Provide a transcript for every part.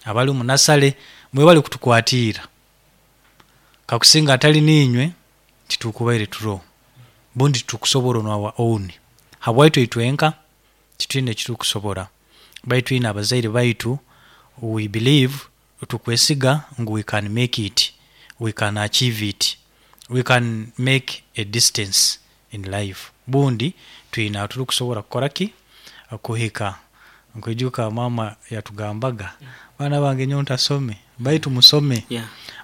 Abali omu nasale mwebale kutukwatiira. Kakusinga atali niinywe titukubaire turoho. Bundi titukusobora on our own. Habwaitu itwenka titwine ekitukusobora baitu twine abazaire baitu we believe tukwesiga ngu we can make it, we can achieve it, we can make a distance in life. Bundi twine ahuturikusobora kukora ki? Kuhika. Nkwijuka maama yatugambaga, baana bange nyowe ntasome baitu musome.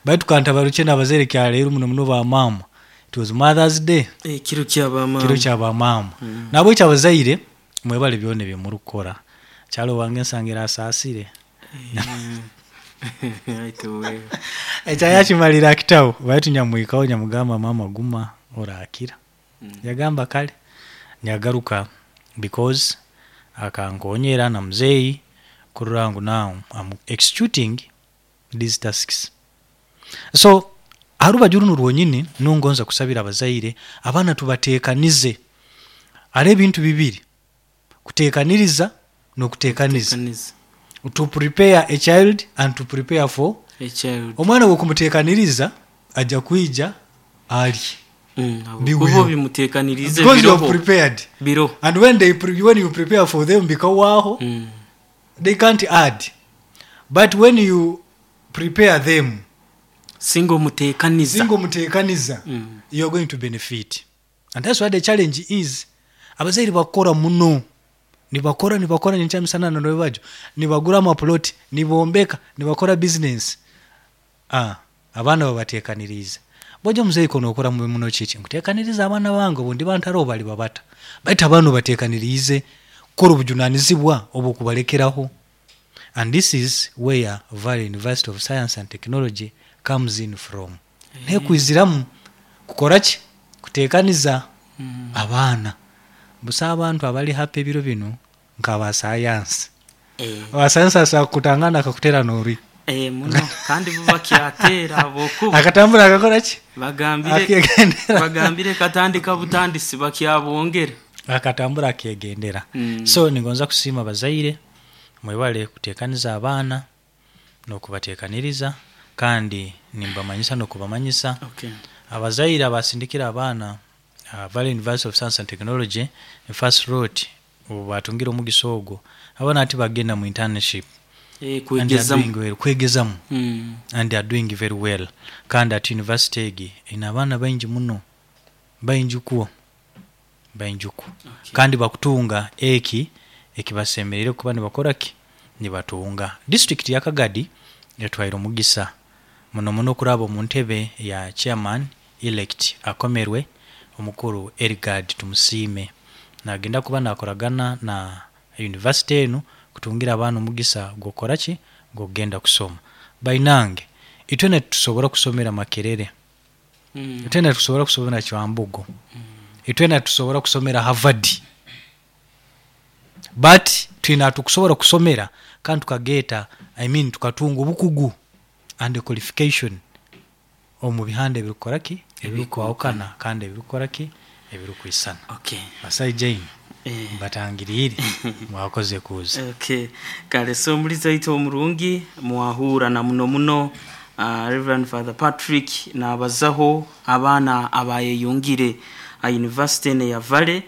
Baitu kantabarukye n'abazaire kyaleero muno muno ba maama, it was mother's day. Ekiro kya ba maama. Kiro kya ba maama. Nahabwekyo abazaire mwebale byona ebi murikukora. Kyalo owange nsangire asaasire. Ekya yakimalire akitaho baitu nyamuhikaho nyamugamba maama guma orakira. Yagamba kare nyagaruka because akankonyera na muzeeyi kurora ngu now am executing these tasks. So aha rubaju runu rwonyini nongonza kusabira abazaire abaana tubatekanize. Hariho ebintu bibiri, kutekaniriza n'okutekaniza. To prepare a child and to prepare for A child. Omwana bw'okumutekaniriza aja kwija arye. Ahabw'okuba Bihweho. obimutekaniriize Because you have biroho. prepared. Biroho. And when they when you prepare for them bikahwaho, they can't add. But when you prepare them, Singa omuteekaniza. Singa omuteekaniza, you are going to benefit. And that's what the challenge is. Abazaire bakora muno. Nibakora, nibakora nyenkya misana na rwebagyo. Nibagura amapuloti, nibombeka, nibakora bizinensi. Ah, abaana babateekaniriize. Bwoija omuzaire ku nookora muno kiki? Nkuteekanirize abaana bange obu ndiba ntaroho baliba bata? Baitu abaana obateekaniriize kukora obujunaanizibwa obw'okubalekeraho. And this is where Valley University of Science and Technology comes in from. N'ekwiziramu kukora ki? Kuteekaniza abaana. Busaho abantu abari happy ebiro binu nk'aba sayansi. Owa sayansi asobola kukutangana akakuteera n'oruhi. Muno kandi bo bakyateera ahabw'okuba. Akatambura akakora ki? Bagambire Akegendera. Bagambire katandika butandisi bakyabwongera. Akatambura akegendera. So ningonza kusiima abazaire mwebale kuteekaniza abaana n'okubateekaniriza kandi nimbamanyisa n'okubamanyisa abazaire abasindikire abaana aha Valley University of Science and Technology first lot obu baatungire omugisa ogwo abaana hati bagenda mu internship and they are doing well, kwegezamu and they are doing very well kandi hati university egi eine abaana baingi muno baingi kwo baingi kwo kandi bakutunga eki ekibasemereire kuba nibakora ki? Nibatunga. Disiturikiti ya Kagadi etwaire omugisa muno muno kuraba omu ntebe ya chairman elect akomerwe omukuru Erigard Tumusiime nagenda kuba nakoragana na University enu kutungira abaana omugisa gw'okukora ki? Gw'okugenda kusoma. Bainange itwena titusobora kusomera Makerere, itwena titusobora kusomera Kyambogo, itwena titusobora kusomera Harvard but twine ahatukusobora kusomera kandi tukageeta I mean tukatunga obukugu and qualification omu bihanda ebirikukora ki? Ebirikwahukana kandi ebirikukora ki? Ebirikwisana. Basaija imwe mbatangiriire mwakoze kuuza. Okay. Kare so omulizi waitu omurungi mwahuura na muno muno Rev. Father Patrick nabazaho abaana abayeyungire aha university enu eya Valley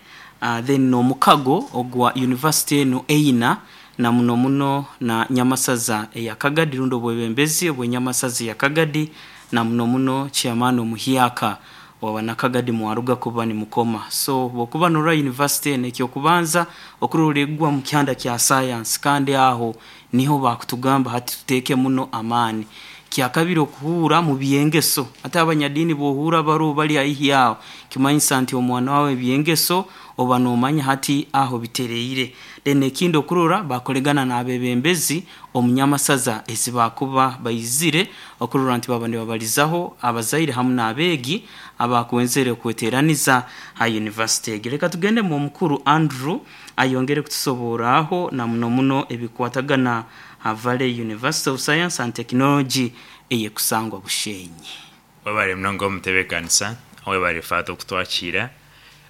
then nomukago ogwa university enu eina na muno muno na Nyamasaza eya Kagadi rundi obwebembezi obwe Nyamasaza eya Kagadi na muno muno chairman omuhyaka owa banakagadi mwaruga kuba nimukoma. So bwokuba norora university enu ekyokubanza okurora egwa mukyanda kya science kandi aho niho bakutugamba hati tuteke muno amaani. Kyakabiri okuhuura mubyengeso hati abanyadiini bwohuura baroho bali haihi aho kimanyisa nti omwana wawe ebyengeso oba nomanya hati aho bitereire. Then ekindi okurora bakoregana n'abebembezi omu nyamasaza ezi bakuba baizire okurora nti baba nibabalizaho abazaire hamu n'abeegi abakwenzere kweteraniza ha university egi. Leka tugende mw'omukuru Andrew ayongere kutusoborraho na muno muno ebikwatagana ha Valley University of Science and Technology eyekusangwa Bushenyi. Webare munonga omutebekanisa, webare Father okutwakiira.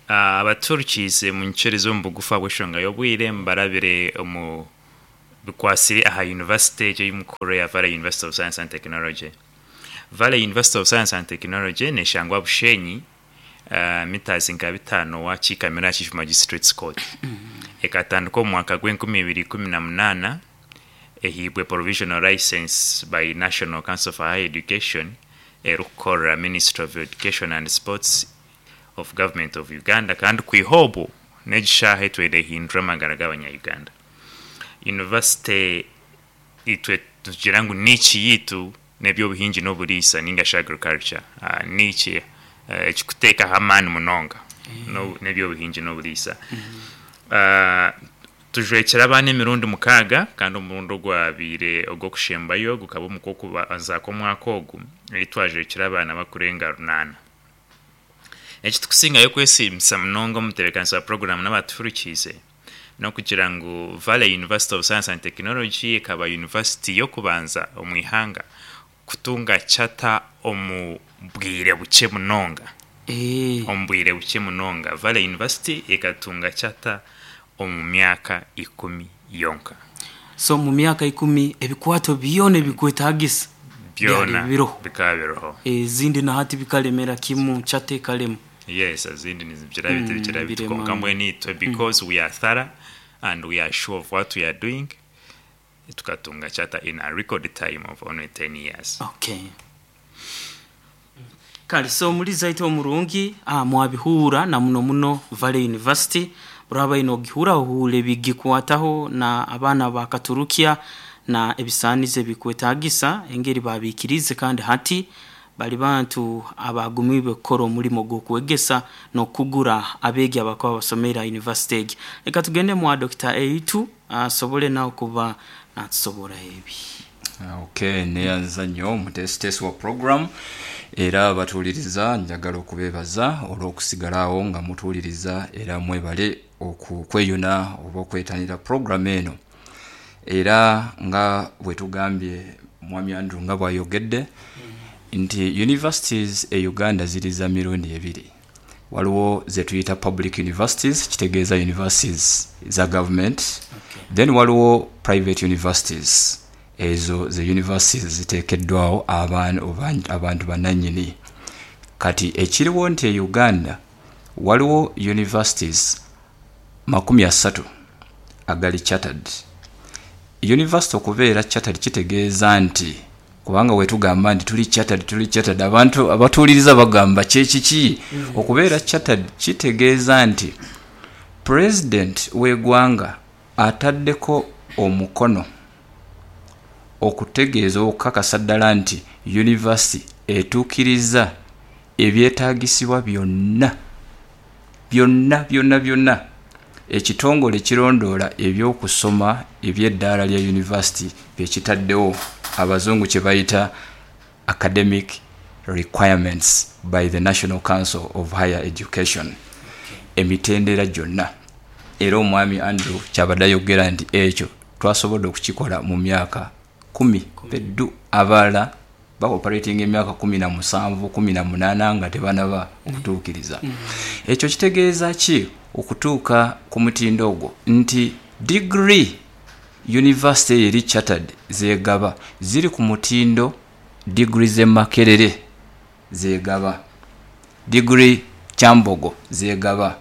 Abatuhurikiize munyikirize omu bugufu ahabw'enshonga y'obwire mbarabire omu. Bikwasire aha yunivasite egyo ei mukuru eya Valley University of Science and Technology. Valley University of Science and Technology neshangwa Bushenyi, mitazi nka bitaano wakiikamira aha Chief Magistrates Court. Ekatandika omu mwaka gw'enkumi ibiri ikumi na munaana, ehaibwe provisional license by National Council for Higher Education erikukorera Ministry of Education and Sports of Government of Uganda kandi kwiha obwo n'egi shaaha etweire ehindura amagara g'abanya Uganda. University itwe nitugira ngu niche yaitu n'eby'obuhingi n'oburiisa ninga shi agriculture. Niche ekikuteekaho amaani munonga n'eby'obuhingi n'oburiisa. Tujwekire abaana emirundi mukaaga kandi omurundi ogwabaire ogw'okushembayo gukaba omu kw'okubanza kw'omwaka ogu ei twajwekire abaana bakurenga runaana. Eki tukusingayo kwesiimisa munonga omu ntebeekanisa ya puroguraamu n'abaatuhurikiize n'okugira ngu Valley University of Science and Technology ekaba yunivasiti y'okubanza omu ihanga kutunga charter omu bwire bukye munonga. Omu bwire bukye munonga, Valley University ekatunga charter omu myaka ikumi yonka. So mu myaka ikumi ebikwato byona ebikwetagisa byali Byona biroho. bikaba biroho. Ezindi na hati bikalemera kimu, charter ekalema. Yes, ezindi nizigira biti bigira biti Birema. kwonka mbwenu itwe because we are thorough and we are sure of what we are doing, tukatunga charter in a record time of only 10 years. Okay. Kale so omulizi aitu omurungi mwabihuura na muno muno Valley University oraba aine ogihuura ohuure ebigikwataho na abaana ba Katurukya na ebisaanizo ebikwetagisa engeri babiikiriize kandi hati bari bantu abagumiibwe kukora omurimo gw'okwegesa n'okukugura abeegi abakuba basomeire aha yunivasite egi. Reka tugende mwa Dokita Eitu asobole nawe kuba natusoboraho ebi. Ok neyanza nnyo omuteesiteesi wa program era abatuwuliriza njagala okubebaza olwokusigala awo nga mutuwuliriza era mwebale okweyuna oba okwetanira program eno. Era nga bwetugambye Mwami Andrew nga bwayogedde nti universities e Uganda ziri za mirundi ebiri. Waliwo zetuyita public universities kitegeeza universities za government, then waliwo private universities ezo ze universities ezitekeddwawo abantu bananyini. Kati ekiriwo nti e Uganda waliwo universities 30 agali chartered. University okubeera chartered kitegeeza nti kubanga bwetugamba nti tuli chartered, tuli chartered, abantu abatuwuliriza bagamba kye kiki? Okubeera chartered kitegeeza nti President w'eighanga ataddeko omukono okutegeeza oba okukakasa ddala nti University etuukiriza ebyetaagisibwa byonna byonna byonna byonna ekitongole ekirondoola eby'okusoma eby'eddaala lya yunivasite bye kitaddewo Abazungu kye bayita Academic Requirements by the National Council of Higher Education emitendera gyonna era Omwami Andrew kyabadde ayogera nti ekyo twasobodde okukikola mu myaka kumi peddu abalala ba operatinga emyaka 17, 18 nga tebanaba okutuukiriza. Ekyo kitegeeza ki okutuuka ku mutindo ogwo nti digiri yunivasite eyo eri chartered z'egaba ziri ku mutindo digiri z'e Makerere z'egaba, digiri Kyambogo z'egaba,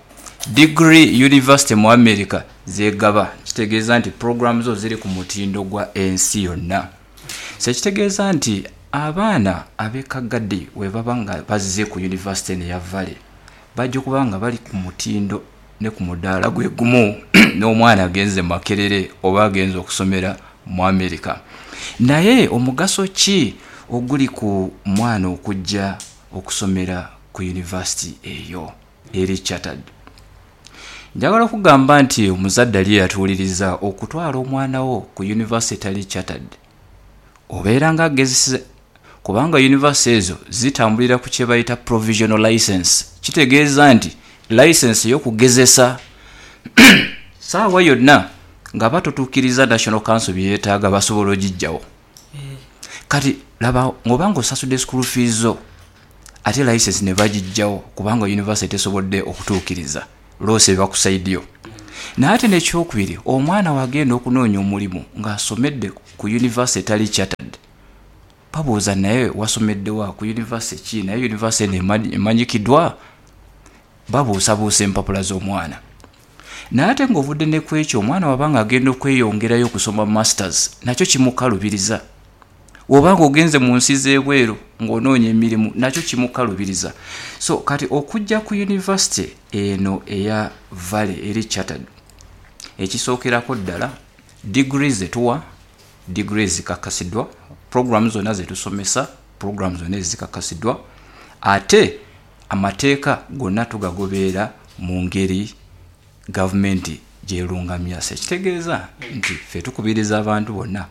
digiri yunivasite mu America z'egaba. Kitegeeza nti pulogulaamu zo ziri ku mutindo gwa ensi yonna. So ekitegeeza nti abaana ab'e Kagadi bwebaba nga bazze ku yunivasite eno eya Valley, baja okuba nga bali ku mutindo ni ku mudaala gwe gumu n'omwana agenze Makerere oba agenze okusomera mu America. Naye omugaso ki oguli ku mwana okujja okusomera ku yunivasite eyo eri chartered? Njagala okugamba nti omuzadde ali eyatuwuliriza okutwala omwana wo ku yunivasite etali chartered obeera nga agezesa kubanga yunivasite ezo zitambulira ku kyebayita provisional license kitegeeza nti license ey'okugezesa saawa yonna nga batotuukiriza National Council byeyetaaga basobola ogijjawo. Kati laba oba nga osasudde school fees zo ate license nebagijjawo kubanga yunivasite tesobodde okutuukiriza loss eba ku side yo. Naye ate n'ekyokubiri, omwana bw'agenda okunoonya omulimu ng'asomedde ku yunivasite etali chartered, babuuza naye wasomedde wa, ku yunivasite ki, naye yunivasite eno emanyikidwa? Babuusabuusa empapula z'omwana. Naye ate ng'ovudde ne ku ekyo, omwana bw'aba ng'agenda okweyongerayo okusoma Masters, nakyo kimukalubiriza. Bw'oba ng'ogenze mu nsi z'ebweru ng'onoonya emirimu, nakyo kimukalubiriza. So kati okujja ku yunivasite eno eya Valley eri chartered, ekisookerako ddala, diguri ze tuwa, diguri ezikakasidwa, pulogulaamu zonna ze tusomesa, pulogulaamu zonna ezikakasidwa, ate amateeka gonna tugagoberera mu ngeri gavumenti gy'erungamya. So ekitegeeza nti ffe tukubiriza abantu bonna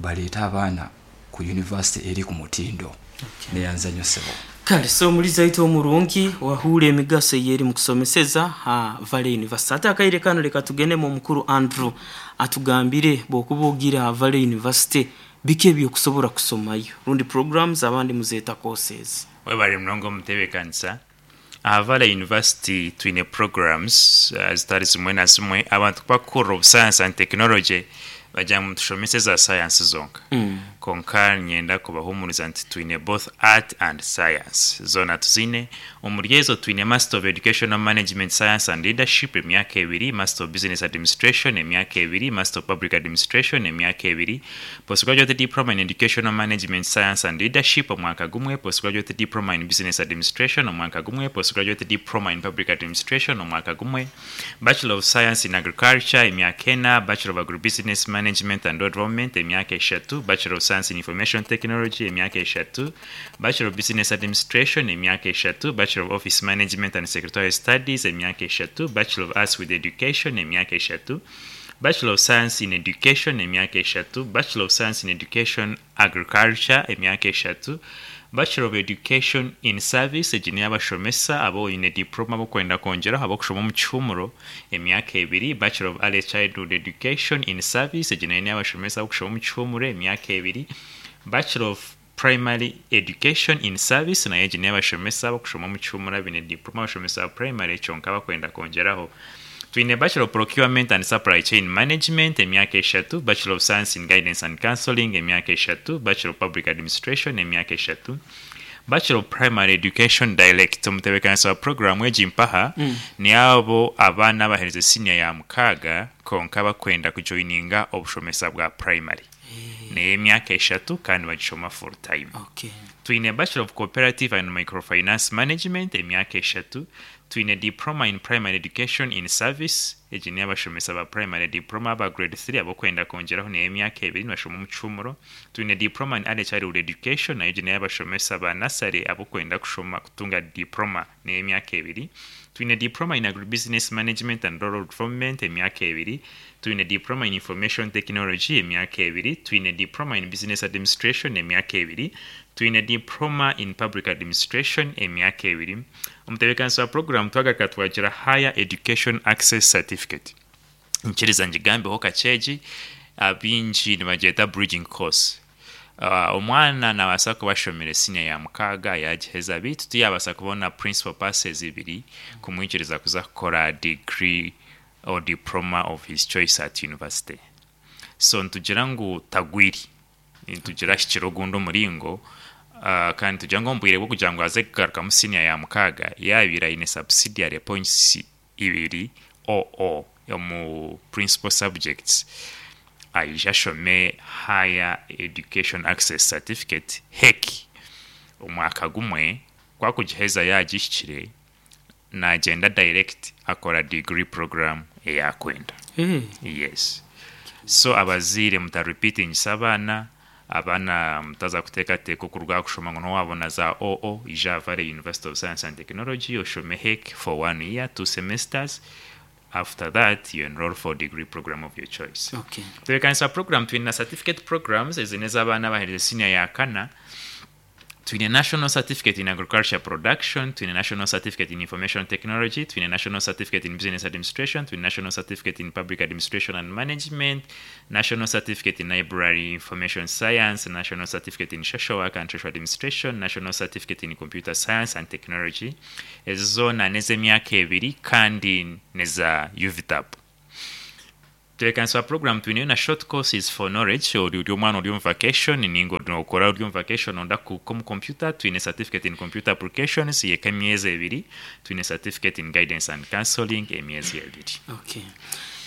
baleete abaana ku yunivasite eri ku mutindo. Neyanza nnyo ssebo. Kale so omulizi waitu omurungi wahuura emigaso eyeri mukusomeseza ha Valley University. Ate akaire kanu leka tugendemu omukuru Andrew atugambire bwokuba ogiire ha Valley University biki ebyokusobora kusomayo rundi programs abandi muzeeta courses. Webare munonga omutebekanisa. Aha Valley University twine programs zitari zimwe na zimwe. Abantu ku bakuhurira obu science and technology bagira ngu nitushomesa eza science zonka. Kwonka niinyenda kubahuumuriza nti twine both art and science, zoona tuziine. Omuri ezo twine Master of Educational Management Science and Leadership emyaka ebiri, Master of Business Administration emyaka ebiri, Master of Public Administration emyaka ebiri, Postgraduate Diploma in Educational Management Science and Leadership, omwaka gumwe, Postgraduate Diploma in Business Administration, omwaka gumwe, Postgraduate Diploma in Public Administration, omwaka gumwe, Bachelor of Science in Agriculture, emyaka ena, Bachelor of Agribusiness Management and Rural Development, emyaka eshatu, Bachelor of Science in Information Technology, emyaka eshatu, Bachelor of Business Administration, emyaka eshatu, Bachelor of Office Management and Secretarial Studies, emyaka eshatu, Bachelor of Arts with Education, emyaka eshatu, Bachelor of Science in Education, emyaka eshatu, Bachelor of Science in Education, Agriculture, emyaka eshatu, Bachelor of Education in Service, egi n'ey'abashomesa abu oine diploma ab'okwenda kwongyeraho ab'okushoma omu kihuumuro, emyaka ebiri, Bachelor of Early Childhood Education in Service, egi nayo n'ey'abashomesa ab'okushoma omu kihuumuro, emyaka ebiri, Bachelor of Primary Education in Service, nayo egi n'ey'abashomesa ab'okushoma omu kihuumuro abaine diploma abashomesa ba purayimare kyonka abakwenda kwongyeraho. Twine Bachelor of Procurement and Supply Chain Management, emyaka eshatu, Bachelor of Science in Guidance and Counselling, emyaka eshatu, Bachelor of Public Administration, emyaka eshatu, Bachelor of Primary Education Direct. Omutebeekanisa wa puroguraamu egi mpaha ni abo abaana abaherize siniya ya mukaaga kwonka bakwenda kujoyininga obushomesa bwa purayimare. N'ey'emyaka eshatu kandi bagishoma full time. Twine Bachelor of Cooperative and Microfinance Management, emyaka eshatu. Twine Diploma in Primary Education in Service, egi n'ey'abashomesa ba Primary Diploma aba Grade 3 ab'okwenda kwongyeraho n'ey'emyaka ebiri nibashoma omu kihuumuro. Twine Diploma in Early Childhood Education, nayo egi n'ey'abashomesa ba Nursery ab'okwenda kushoma kutunga Diploma n'ey'emyaka ebiri. Twine Diploma in Agribusiness Management and Rural Development, emyaka ebiri. Twine Diploma in Information Technology, emyaka ebiri. Twine Diploma in Business Administration, emyaka ebiri. Twine Diploma in Public Administration, emyaka ebiri. Omutebeekanisa wa puroguraamu twagaruka twagira Higher Education Access Certificate. Nyikiriza ngigambeho kakye egi, abaingi nibagyeta bridging course. Omwana naabaasa kuba ashomire siniya ya mukaaga yaagiheza beitu tiyaabaasa kubona principal passes ibiri kumwikiriza kuza kukora degree or diploma of his choice at university. So nitugira ngu tagwire, nitugira ahikire ogundi omuringo kandi nitugira ngu omu bwire bw'okugira ngu aze kugarukamu siniya ya mukaaga yaabaire aine subsidiary points ibiri OO omu principal subjects aije ashome Higher Education Access Certificate, HEC, omwaka gumwe, ku akugiheza yaagihikire Nagyenda direct akora degree program eyakwenda. Yes. So abazaire muta repeatingisa abaana, abaana mutaza kuteekateeka okuruga aha kushoma ngu nowabona za OO ija aha Valley University of Science and Technology oshome HEC for one year, two semesters, after that you enroll for degree program of your choice. Tutebeekanisa program twine na certificate programs ezi n'ez'abaana abaherize senior ya kana. Twine National Certificate in Agriculture Production, twine National Certificate in Information Technology, twine National Certificate in Business Administration, twine National Certificate in Public Administration and Management, National Certificate in Library Information Science, National Certificate in Social Work and Social Administration, National Certificate in Computer Science and Technology. Ezo zoona n'ez'emyaka ebiri kandi n'eza UVTAB. Tebeekanisa puroguraamu twineyo na short courses for knowledge ori ori omwana ori omu vacation ninga nokora ori omu vacation noyenda kuhika omu computer twine certificate in computer applications y'emyezi ebiri twine certificate in guidance and counseling emyezi ebiri. Okay.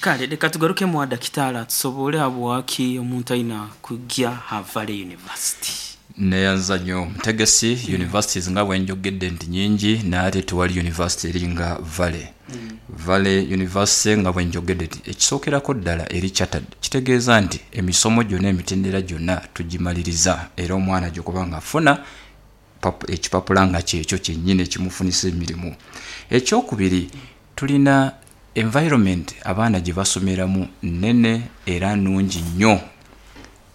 Kale reka tugarukemu wa dakitaali atusoboore habwaki omuntu aina kugya ha Valley University. Neyanza nyo Mutegesi, Universities nga bwenjogedde nti nyingi naye ate tiwali University eri nga Valley. Valley University nga bwenjogedde nti ekisokerako ddala eri chartered kitegeeza nti emisomo gyona emitendera gyona tugimaliriza era omwana gyokuba nga afuna ekipapula nga kyekyo kyenyini ekimufunisa emirimu. Ekyokubiri tulina environment abaana gyebasomeramu nene era nungi nyo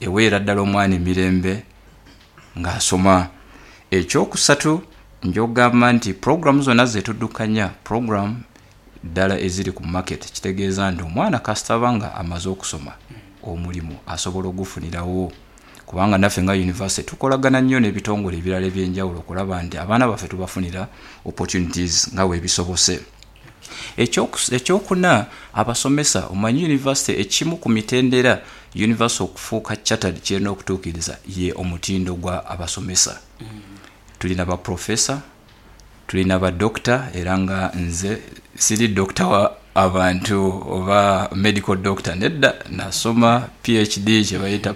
eweera ddala omwana emirembe nga asoma. Ekyokusatu nja okugamba nti pulogulaamu zona zetudukanya pulogulaamu ddala eziri ku market kitegeeza nti omwana kasita aba nga amaze okusoma omulimu asobola ogufunirawo kubanga naffe nga university tukolagana nnyo n'ebitongole ebirala ebyenjawulo okulaba nti abaana baffe tubafunira opportunities nga webisobose. Ekyokuna abasomesa omanyi university ekimu ku mitendera university okufuuka chartered kyerina okutuukiriza ye omutindo gwa abasomesa. Tulina ba professor, tulina ba doctor era nga nze siri doctor wa abantu oba medical doctor nedda nasoma PhD kyebayita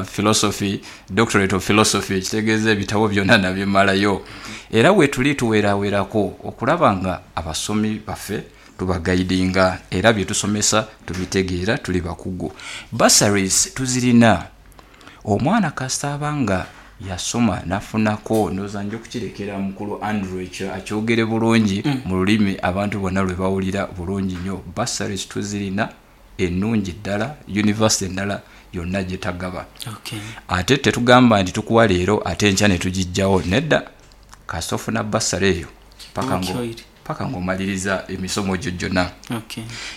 philosophy, doctorate of philosophy ekitegeeza ebitabo byona nabimalayo era wetuli tuwerawerako okulaba nga abasomi baffe tubagaidinga era byetusomesa tubitegeera tuli bakugu. Bursaries tuzirina omwana kasita aba nga yasoma nafunako ndowooza nja okukirekera mukulu Andrew ekyo akyogere bulungi mu lulimi abantu bonna lwe bawulira bulungi nnyo. Bursaries tuzirina enungi ddala university endala yonna gyetagaba. Ate tetugamba nti tukuwa leero ate enkya netugijjawo nedda kasita ofuna bursary eyo paka ng'omaliriza emisomo gyo gyonna.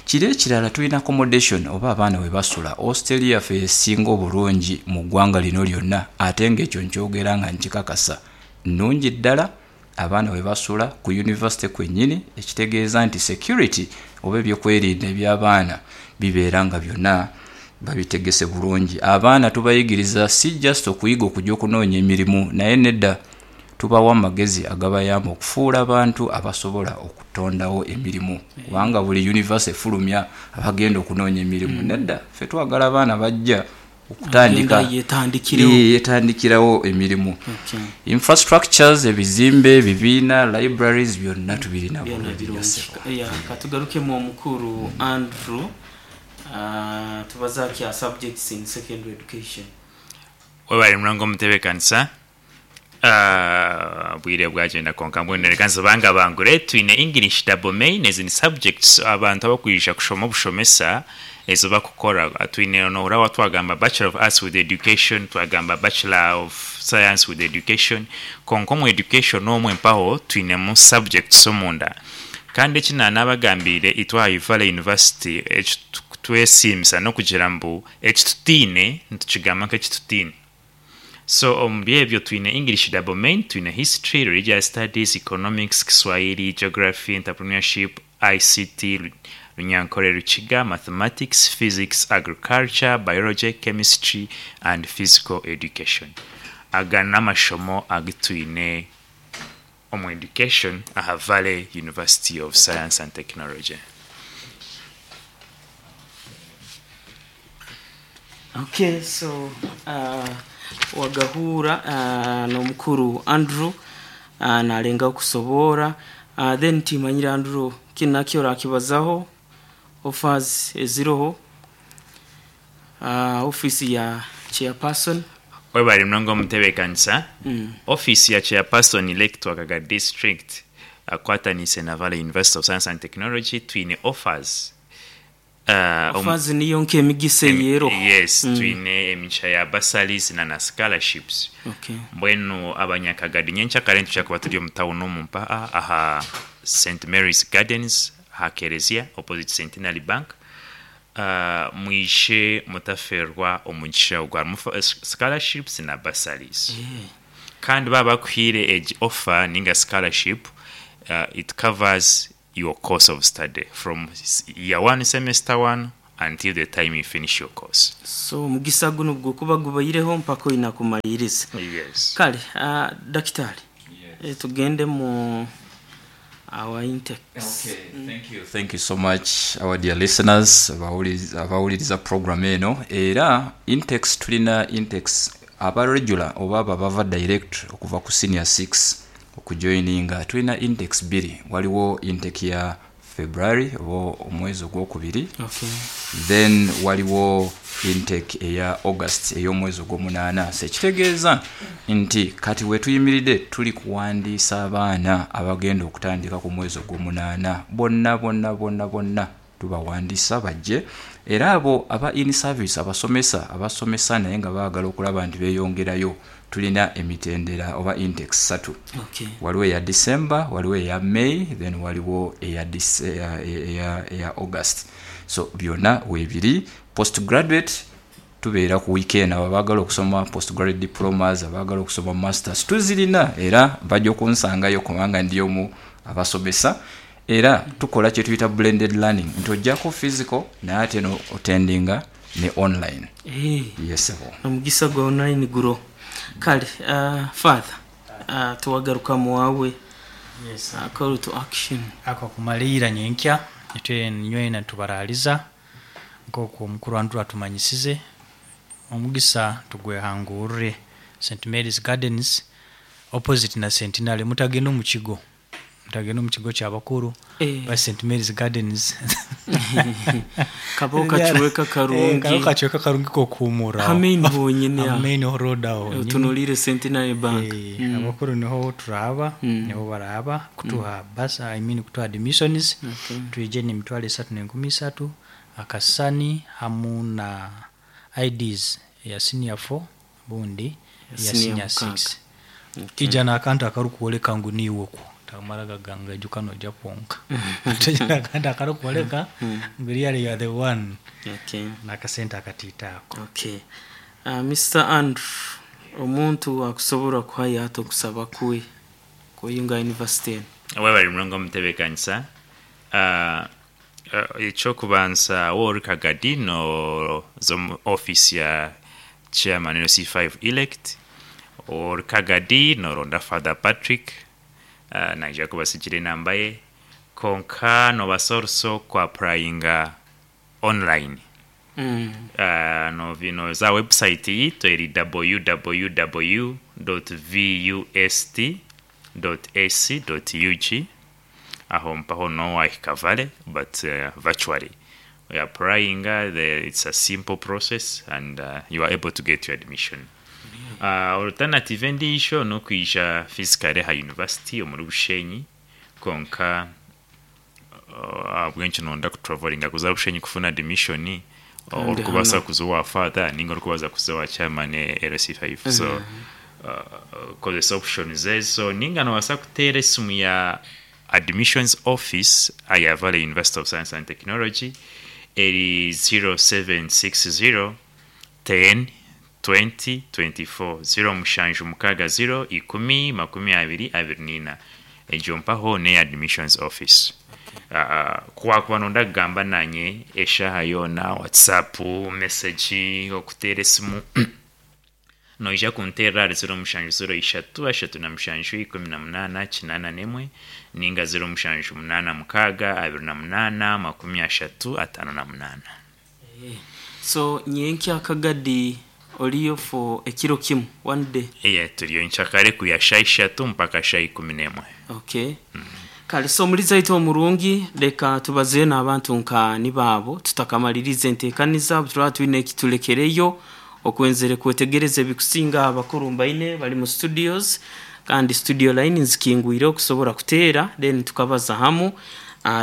Kiri ekirala tulina accommodation oba abaana we basula hostel yaffe esinga obulungi mu ggwanga lino lyonna ate ng'ekyo nkyogera nga nkikakasa nnungi ddala abaana we basula ku university kwennyini ekitegeeza nti security oba ebyokwerinda eby'abaana bibeera nga byonna babitegese bulungi. Abaana tubayigiriza si just okuyiga okujja okunoonya emirimu naye nedda tubawa amagezi agabayamba okufuula abantu abasobola okutondawo emirimu kubanga buli university efulumya abagenda okunoonya emirimu nedda ffe twagala abaana bajja okutandika yetandikirawo emirimu. Infrastructures ebizimbe, ebibiina, libraries byonna tubirina bulungi nnyo ssebo. Katugarukemu omukuru Andrew tubazaaki aha subjects in secondary education. Webare munonga omutebekanisa obwire bwagyenda kwonka mbwenu reka nzibangabangure. Twine English double main ezi ni subjects abantu abakwija kushoma obushomesa ezi bakukora. Twine nohurira waaba twagamba Bachelor of Arts with Education, twagamba Bachelor of Science with Education kwonka omu education omwe mpaho twinemu subjects omunda. Kandi eki naanabagambiire itwe aha Valley University eki twesiimisa n'okugira mbu eki tutaine nitukigamba nk'eki tutaine. So omuri ebyo twine English double main, twine History, Religious Studies, Economics, Kiswahili, Geography, Entrepreneurship, ICT, Runyankore Rukiga, Mathematics, Physics, Agriculture, Biology, Chemistry and Physical Education. Aga n'amashomo agu twine omu education aha Valley University of Science and Technology. Okay, so wagahuura n'omukuru Andrew narengaho kusoboora then timanyire Andrew kinu nakyo orakibazaho offers eziroho office ya chairperson. Webare munonga omutebekanisa. Office ya chairperson Lake Kagadi district akwataniise na Valley University of Science and Technology twine offers. Offers niyo nk'emigisa eyeroho. Yes, twine emigisha ya bursaries na na scholarships. Mbwenu abanyakagadi nyenkyakare nitwija kuba turi omu town omu mpaha aha St Mary's Gardens aha Kerezia opposite Centenary Bank. Mwije mutaferwa omugisha ogu harimu scholarships na bursaries. Kandi baaba bakuhaire egi offer ninga scholarship it covers your course of study from year 1 semester 1 until the time you finish your course. So omugisa gunu gukuba gubaireho mpaka oina kumaliriza. Yes. Kale dakitari, tugende mu our intakes. Okay, thank you. Thank you so much our dear listeners abawuliriza program eno. Era intakes, tulina intakes aba regular oba abo abava direct okuva ku senior 6 okujoininga, tulina intakes bbiri. Waliwo intake ya February oba omwezi ogwokubiri, then waliwo intake eya August ey'omwezi ogw'omunaana. So ekitegeeza nti kati wetuyimiridde tuli kuwandiisa abaana abagenda okutandika ku mwezi ogw'omunaana bonna bonna bonna bonna tubawandiisa bajje. Era abo aba in service, abasomesa abasomesa naye nga baagala okulaba nti beeyongerayo, tulina emitendera oba intakes ssatu. Waliwo eya December, waliwo eya May, then waliwo eya August. So byonna weebiri. Postgraduate tubeera ku weekend, abo abaagala okusoma postgraduate diplomas, abaagala okusoma masters tuzirina, era bajja okunsangayo kubanga ndi omu abasomesa. Era tukola kye tuyita blended learning, nti ojjako physical naye ate no attendinga ne online. Yes. Omugisa gwa online guro. Kale father, tuwagarukamu wawe. Yes. Call to action. Ako kumalira nyenkya itwe nywena tubaraliza nk'oku omukuru Andrew atumanyisize, omugisa tugwehangurire St Mary's Gardens opposite na Centenary. Mutagenda omu kigo, mutagenda omu kigo kyabakuru ba St Mary's Gardens. Kabo kakiweka karungi. Kabo kakiweka karungi kokuhumura Ha main honyine aho. Ha main road aho honyine. Otunulire Centenary Bank. Abakuru niho turaba, niho baraba kutuha basa, I mean kutuha admissions. Twije n'emitwaro esatu n'enkumi isatu, akasani hamu na IDs ya senior 4 bundi ya Senior senior mukaaga. 6. Ija n'akantu akarikuworeka ngu niiwe okwo, tamara gaganga juka noija kwonka. Ija n'akantu akarikuworeka ngu really you are the one. N'akasente akatiito ako. Okay. Mr. Andrew, omuntu akusobola kuhayo ata okusaba kwe kweyunga university eno? Webale mulongo omutebeekanisa. Ekyokubanza woori Kagadi nooza omu office ya chairman LC5 elect, ori Kagadi nooronda Father Patrick, naija kubasigira enamba ye, konka noobaasa also ku applyinga online. Nooza aha website yiitu eri www.vust.ac.ug, aho mpaho noowahika Vale, but virtually oyapplyinga, it's a simple process and you are able to get your admission. Alternative endiijo n'okwija physically aha university omuri Bushenyi, konka ahabw'enki noyenda kutravelinga kuza Bushenyi kufuna admission, Kandi orikubaasa hanu. kuza owa father ninga orikubaasa kuza owa chairman LC5. So kozesa options ezo, ninga nobaasa kuteera esimu ya admissions office aya Valley University of Science and Technology eri 0760 10 20 24, 0760 10 20 24. Egyo mpaho n'eya admissions office. Ku wakuba noyenda kugamba nanye eshaaha yoona, WhatsApp message, okuteera esimu, noija kunteerera ahari 0703 37 18 81 ninga 0786 28 30 58. So nyenkya Kagadi oliyo for ekiro kimu, one day? Yeah, turiyo nkyakare kwiha shaaha ishatu mpaka shaaha 11. Okay. Kale so omulizi waitu omurungi, leka tubazeyo n'abantu nka nibaabo tutakamaliriza enteekaniza, turaba twine ekitulekereyo okwenzere kwetegereza ebikusinga. Abakuru mbaine bali mu studios, kandi studio line nzikingwire okusobola kuteera, then tukabaza hamu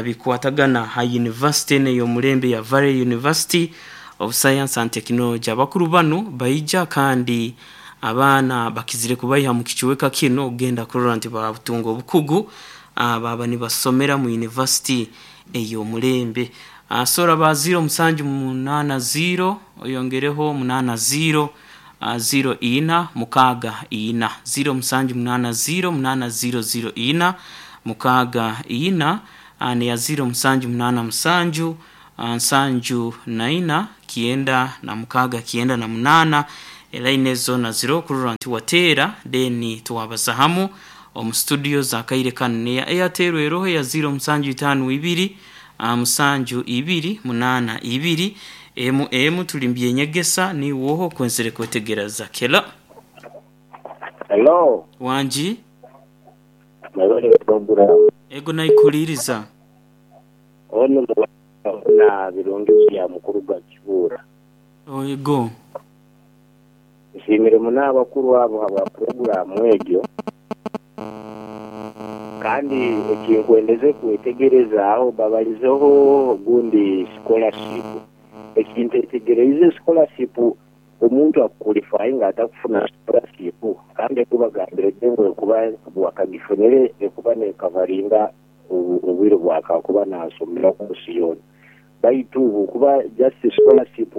bikwatagana ha university eno ey'omulembe ya Valley University of Science and Technology. Abakuru banu baija kandi abaana bakizire kubaiha mu kicweka kinu okugenda kurora nti babutunga obukugu, baba nibasomera mu university ey'omulembe. Sora ba 0780 oyongereho 80 04 64, 0780 8004 64, neya 0787 Nsanju na ina, kyenda na mukaaga, kyenda na munaana. Elaini ezo zoona ziriho kurora nti wateera then twabaza hamu omu studio za kaire kanu. Neya Airtel eroho eya ziiro musanju itaano ibiri, musanju ibiri, munaana ibiri, emu emu. Turi mu by'enyegesa niiwe oha okwenzire kwetegereza. Kelo. Hello. Wangi. Mwebale program. Ego naikuhuriiriza. Ono na Birungi bya mukuru gwa Kibuura. Ego. Nsiimire muno abakuru abo habwa puroguraamu egyo. Kandi ekinkwendeze kwetegerezaaho, babalizeho ogundi scholarship. Ekintetegereize scholarship omuntu akukulifayinga ata kufuna scholarship? Kandi ekubagambire gye ngu ekuba wakagifunire ekuba nekavaringa obwire obwakakuba nasomera kosi yoona. Baitu bwokuba just scholarship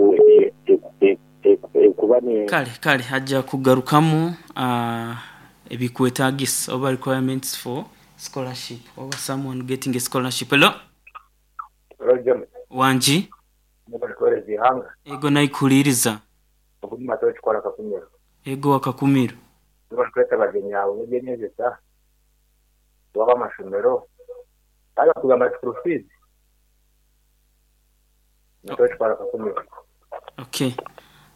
ekuba ne. Kale, kale aja kugarukamu ebikwetagisa oba requirements for scholarship oba someone getting a scholarship. Hello. Hello James. Wangi. Mwebale kuwereza eihanga. Ego naikuhuririza. Ogu ni Matayo Kikwara Kakumiro. Ego wa Kakumiro. Mwebale kureeta abagyenyi abo b'eby'enyegyesa oba ab'amashomero. Baaza kugamba school fees. Matayo Kikwara Kakumiro. Ok.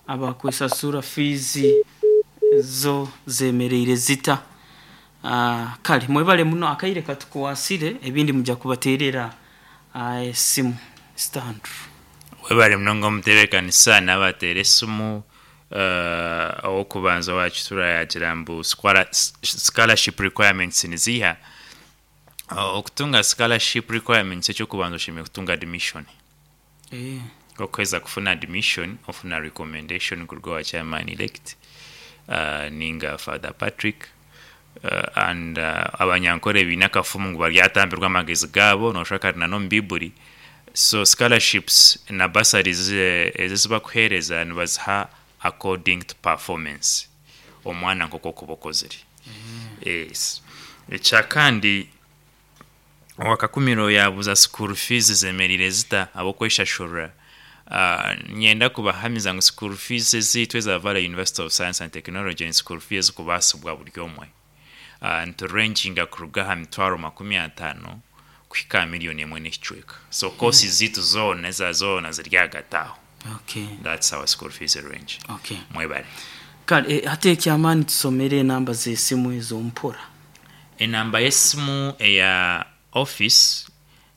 Abakwesasura fiizi zo zemereire zita? Kale mwebale muno akaire katukwasire ebindi muja kubaterera esimu. Stand. Webale munonga omutebeekanisa n'abateera esimu. Ow'okubanza owa Kitura yaagira mbu scholarship requirements niziiha? Okutunga scholarship requirements eky'okubanza oshemereire kutunga admission. Okuheza kufuna admission ofuna recommendation kuruga owa chairman elect ninga Father Patrick and abanyankore baine akafumu ngu baryatambirwa amagezi gaabo noshusha kari na n'omu Baiburi. So scholarships na bursaries ezi ezibakuhereza nibaziha according to performance omwana nk'oku okuba okozire. Yes. Ekyakandi owa Kakumiro yaabuuza school fees zemereire zita ab'okweshashurira. Niinyenda kubahamiza ngu school fees ezaitu eza Valley University of Science and Technology ni school fees ezikubaasibwa buri omwe. Niturenjinga kuruga aha mitwaro 50 kuhika aha miriyoni emwe n'ekicweka. So courses zaitu zoona eza zoona ziri ahagati aho. Okay. That's our school fees range. Okay. Mwebale. Kale hati eky'amaani tusomere enamba z'esimu ezo mpora. Enamba y'esimu eya office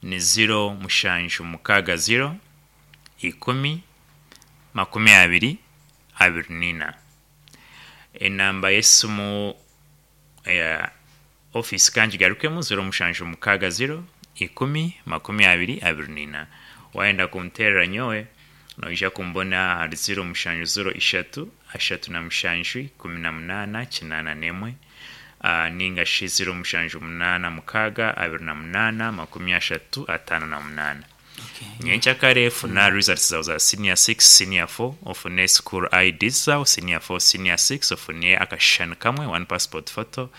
ni ziro mushanju mukaaga ziro, ikumi, 20, 24. Enamba y'esimu eya office ka ngigarukemu, ziro mushanju mukaaga ziro, ikumi, 20, 24. Waayenda kunteerera nyowe, noija kumbona ahari ziro mushanju ziro ishatu, 37, 18, 81, nainga shi ziro mushanju munaana mukaaga, 28, 30, 58. Nyenkyakare funa results zawe za senior 6, senior 4, ofune school IDs zawe, senior 4, senior 6, ofune akashushani kamwe, one passport photo,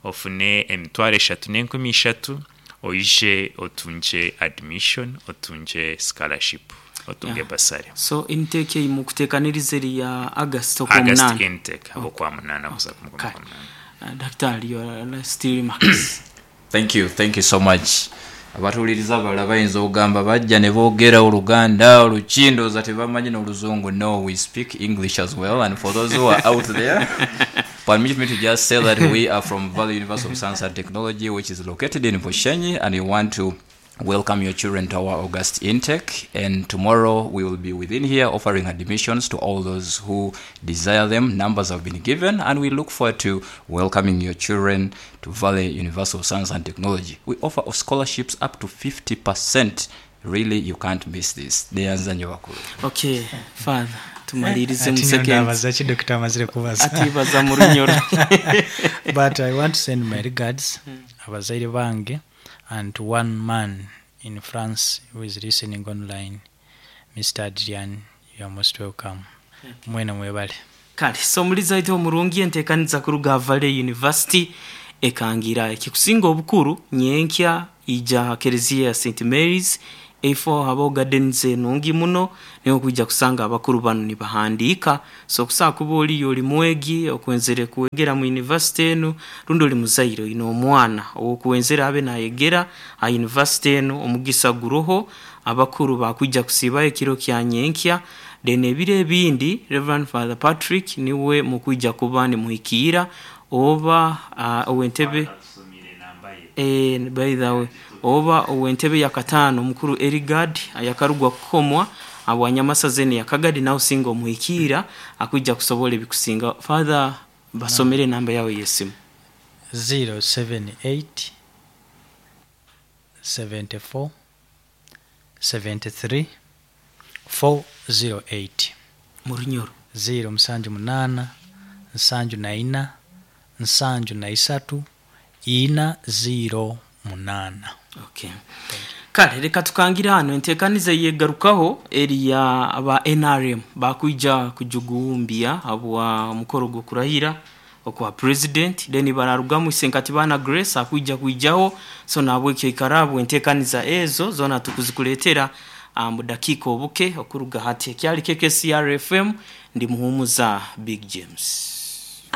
ofune 3000, oije otungye admission, otungye scholarship, otunge bursary. So intake ei mukuteekaniriza eri ya August August Okwamunaana? intake Ab'Okwamunaana kuza kumukumi Kale. Okwamunaana. Daktari, your last remarks. Thank you, thank you so much. Abatuwuliriza abalala bayinza okugamba bajja ne boogera Oluganda, Oluki ndowooza tebamanyi n'Oluzungu. No, we speak English as well and for those who are out there, permit me to just say that we are from Valley University of Science and Technology which is located in Bushenyi and we want to welcome your children to our August intake and tomorrow we will be within here offering admissions to all those who desire them. Numbers have been given and we look forward to welcoming your children to Valley University of Science and Technology. We offer scholarships up to 50%. Really, you can't miss this. Neyanza nyo bakulu. Okay, Father, tumaliirize mu Ati nyowe seconds. ndabaza ki Dokita amazire kubaza. Ati baza mu runyoro. But I want to send my regards abazaire bange and to one man in France who is listening online, Mister Adrian, you are most welcome. Mwena mwebale. Kale, so omulizi waitu omurungi enteekaniza kuruga aha Valley University ekangira. Ekikusinga obukuru, nyenkya ija aha Kereziya ya St. Mary's. Eifo habaho gardens enungi muno niho okwija kusanga abakuru banu nibahandiika. So okusobola kuba oriyo ori mwegi okwenzere kwegera mu university enu rundi ori muzaire oine omwana ow'okwenzere abe nayegera aha university enu omugisa guroho abakuru bakwija kusiibayo ekiro kya nyenkya then ebiro ebindi Rev Father Patrick niwe mukwija kuba nimuhikiira oba ow'entebe by the way oba ow'entebe yakataano omukuru Erigard ayakarugwa kukomwa habwa Nyamasaza enu eya Kagadi nawe osinga omuhikiira akwija kusobola ebikusingaho. Father basomere enamba yawe ey'esimu. 078 74 73 408. Murunyoro. Ziiro musanju munaana, nsanju na ina, nsanju na isatu, ina ziiro munaana. Okay. Kale reka tukangire hanu entekaniza eyegarukaho eri ya aba NRM bakwija kujugumbya habwa mukoro gw'okurahira okwa president then bararugamu Isenkatibana Grace akwija kwijaho so nahabwekyo ikara habwa entekaniza ezo zona tukuzikuletera mu dakiika obuke okuruga hati. Ekyali KKCR FM ndi Muhumuza Big James.